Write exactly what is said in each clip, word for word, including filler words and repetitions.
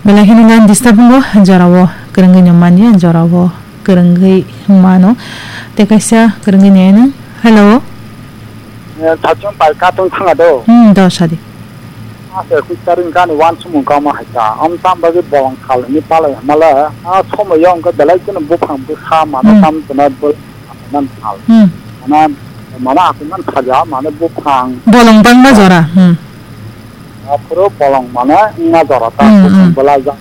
Belai kheno line disturb wngo, jorao kwrwngwi no manya, jorao kwrwngwi mano. Tei kaisa kwrwngwi nai nw. Hello. Eh, thachung pai katung thanga do. Hmm, do sadi. Ase kuchari gani wan sumung kama haita. Am tam bagi bolong kal ni palai hamala. A somo yong ka belai kuno buphang busa mano Hmm. Tam tuna bol man kal. Hmm. Mana, mana aku man saja, mana buphang. Bolong bangma jora. Hmm. Aphuru bolong mane wngna jora ta, hmm, buphang hmm. Belai jak.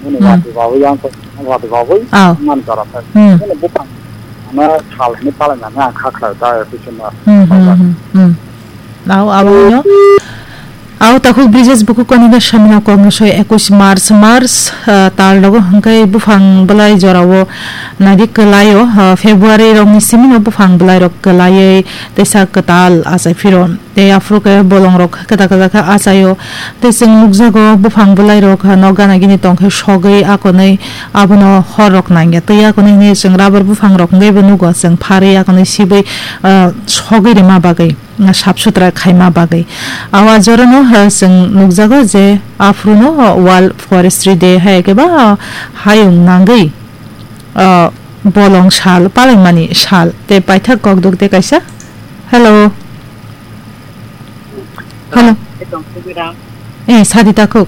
Nini hmm. Wati bawi yang ko, wati bawi oh. Wngna jora ta. Hmm. Nini buphang mane sal ni palai nani ang kha khlai ta, episode na. Hmm, hmm, hmm, hmm. Au, abo no. Au takhuk Brijesh buku koni ga samina kom no soi ekush March, March, ah, tal rogo hingkai buphang belai jorao nadi kwlaio, ah, February rok ni simi no buphang belai rok kwlaioi teisa kwtal achai phiro. Tei aphuru khe bolongrok kwtal kwtal khe achaio. Tei chwng nukjago, buphang bwlairok nok gana gini tong khe sogwi akonwi abono horrok nangya. Tei akonwi hwnwi chwng rubber buphangrok hwnkhe bo nugo, chwng pharwi akonwi sibwi, ah, sogwi rwma bagwi, ah, sap sutra khaima bagwi. Awa jorano, ah, chwng nukjago je aphuruno World Forestry Day hai khe ba hayung nangwi, ah, bolong sal, palaimani sal. Tei paithak kokduk tei kaisa. Hello. Hello. Eh, sadi takhuk.